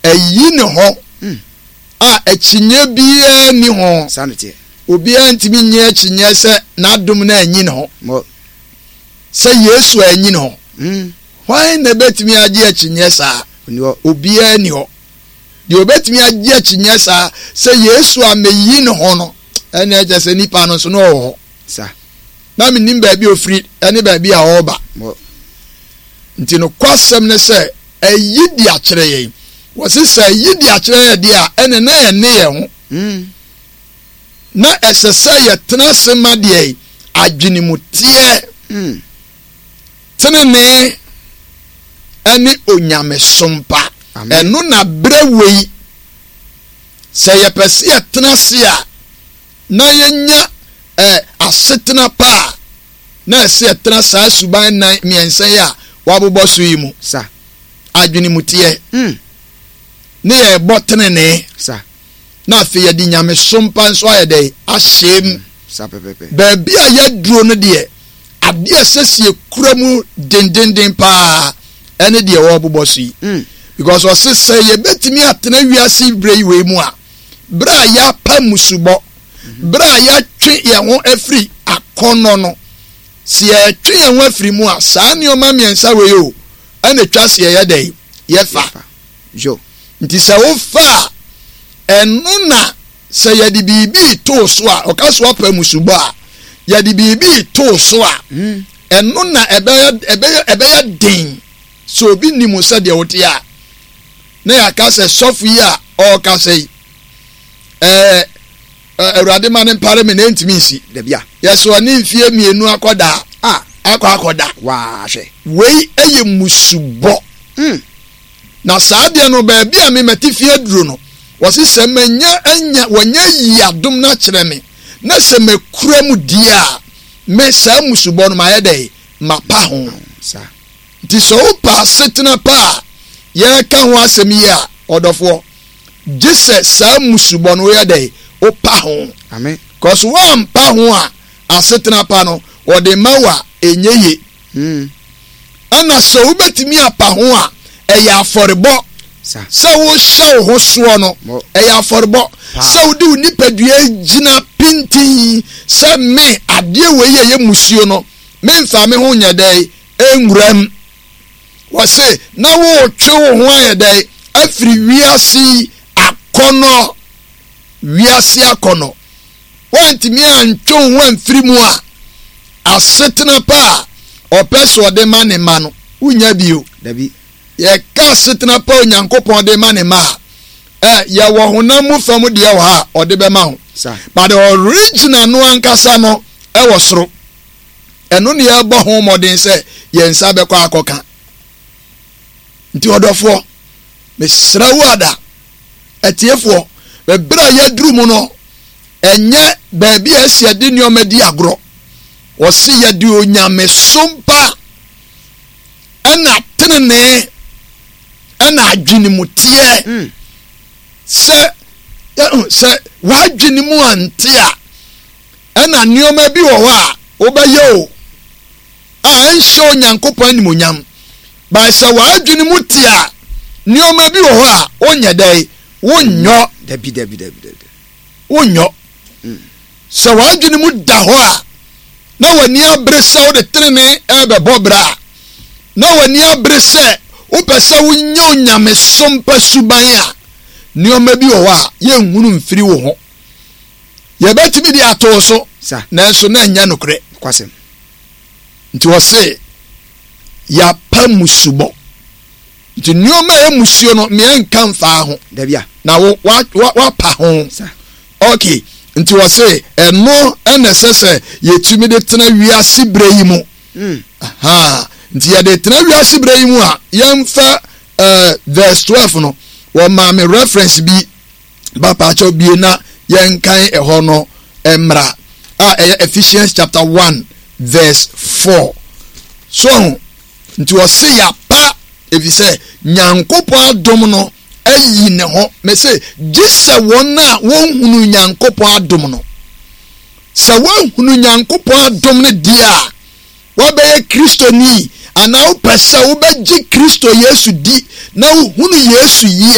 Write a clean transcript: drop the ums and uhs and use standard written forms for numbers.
Ayi ne ho a akyinnye biara nni ho. Saa na ɛteɛ. Obiara ntumi nnye akyinnye sɛ n'adom no anyi ne ho. Mɔ. Sɛ Yesu anyi ne ho. Hwan na ebetumi agye akyinnye saa? Onni hɔ. Obiara nni hɔ. Deɛ obetumi agye akyinnye saa sɛ Yesu ameyi ne ho no, ɛnna ɛkyɛ sɛ nipa no nso na ɔwɔ hɔ. Sa. Na menim baabi a ofiri ne baabi a ɔreba. Mɔ. Nti nokwasɛm ne sɛ ayi de akyerɛ yɛn. Wɔse sɛ ayi de akyerɛ yɛn deɛ a, ɛnne na ɛnne yɛn ho. Na ɛsɛ sɛ yɛtena ase ma deɛ adwenemuteɛ, tenenee ne onyamesom pa. Ɛno na berɛ wei, sɛ yɛpɛ sɛ yɛtena ase a, na yɛnya eh, asetena pa a, na ɛsɛ yɛtena saa suban nnan mmiɛnsa yi a wɔabobɔ so yi mu. Sa. Adwenemuteɛ. Ne yɛrebɔ tenenee. Sa. Na afei yɛde nyamesom pa nso ayɛ dɛn? Ahyɛ mu. Sa pɛpɛpɛ. Baabi a yɛaduro no deɛ, adeɛ a ɛsɛ sɛ yɛkura mu dendenden paa ɛne deɛ wɔrebobɔ so yi. Because ɔse sɛ yɛbɛtumi atena wiase berɛ yi wei mu a, berɛ a yɛapa mmusubɔ, Berɛ a yɛatwe yɛn ho afiri akɔnnɔ no, sɛ yɛtwe yɛn ho afiri mu a, saa nneɛma mmiɛnsa wei o, ɛna ɛtwa sɛ yɛyɛ dɛn? Yɛfa. Yo. Nti sɛ wofa a, ɛno na sɛ yɛde biribi too so a, ɔka so apa musubɔ a, yɛde biribi too so a, ɛno na ɛbɛyɛ ɛbɛyɛ ɛbɛyɛ den sɛ obi nim sɛ deɛ wote a, na yɛaka sɛ sɔfo yi a ɔrekasa yi, ɛɛ awurade ma ne mpare me na ɛntumi nsi. Dabi a. Yɛsɛ ɔne mfie mmienu akɔda a akɔ akɔda. Waa hwɛ. Wei yɛ musubɔ. Na saa deɛ no baabi a me mate fie aduro no, wɔse sɛ manya anya wɔnya yi adom no akyerɛ me na sɛ makura mu die a, me saa musubɔ no mayɛ dɛn? Mapa ho. Saa. Nti sɛ wopɛ asetena pa a yɛreka ho asɛm yi a, ɔdɔfoɔ, gye sɛ saa mmusubɔ no woyɛ dɛn? Wopa ho. Amen. Cause woampa ho a, asetena pa no, wɔde ma wo a, ɛnyɛ ye. Ɛna sɛ wobɛtumi apa ho a, ɛyɛ afɔrebɔ. Sɛ wohyɛ wo ho soɔ no, ɛyɛ afɔrebɔ. Sɛ wode wo nipadua gyina pintinn sɛ me, adeɛ wei yɛ yɛ musuo no, memfa me ho nyɛ dɛn? Nwuram. Wɔse na woretwe wo ho ayɛ dɛn afiri wiase yi akɔnnɔ, wiase akɔnnɔ. Woantumi antwe wo ho amfiri mu a, asetena pa a ɔpɛ sɛ ɔde ma ne mma no, wonnya bio. Dabi. Yɛka asetena pa a Onyankopɔn de ma ne mma a, ɛ, yɛwɔ honam mu fam deɛ wɔ ha a ɔde bɛma ho. Sa. But the original no ankasa no ɛwɔ soro. Ɛno ne yɛrebɔ ho mmɔden sɛ yɛn nsa bɛkɔ akɔka. Nti ɔdɔfoɔ, mesrɛ wo ada, atiefoɔ, bɛberɛ a yɛaduru mu no, ɛnyɛ baabi a ɛsɛ yɛde nneɛma di agorɔ. Wɔse yɛde onyamesom pa ɛna tenenee ɛna adwenemuteɛ sɛ sɛ w'adwene mu ante a Ɛna nneɛma bi wɔ hɔ a wobɛyɛ o a ɛnhyɛ Onyankopɔn animuonyam. By sɛ w'adwene mu te a, nneɛma bi wɔ hɔ a wonyɛ dɛn? Wonyɔ. Dabi, dabi, dabi, dabi. Wonyɔ. Sɛ w'adwene mu da hɔ a, na w'ani abere sɛ wode tenenee ɛrebɛbɔ bra a, na w'ani abere sɛ wopɛ sɛ wonya onyamesom pa suban a, nneɛma bi wɔ hɔ a yɛnhunu mfiri wo ho. Yɛbɛtumi de ato wo so, nanso na ɛnyɛ nokorɛ. Nokwasɛm. Nti ɔse, yɛapa mmusubɔ. Nti nneɛma a ɛyɛ mmusuo no, meɛ nka mfaa ho. Dabi a. Na wo, wa, wa, wapa ho. Sa. Ok, nti ɔse, ɛno ɛna ɛsɛ sɛ yɛtumi de tena wiase berɛ yi mu. Aha, nti yɛde tena wiase berɛ yi mu a, yɛmfa uh, verse 12 no, wɔmaa me reference bi Bapaakyɛw bue na yɛnkan ɛhɔ no mmra a ɛyɛ Ephesians chapter 1 verse 4. So ho nti ɔse yɛapa efisɛ Nyankopɔn adom no ayi ne ho. Mese gye sɛ wɔn a wɔnhunu Nyankopɔn adom no. Sɛ woahunu Nyankopɔn adom no deɛ a, woabɛyɛ Kristoni anaa wopɛ sɛ wobɛgye Kristo Yesu di na wohunu Yesu yie a,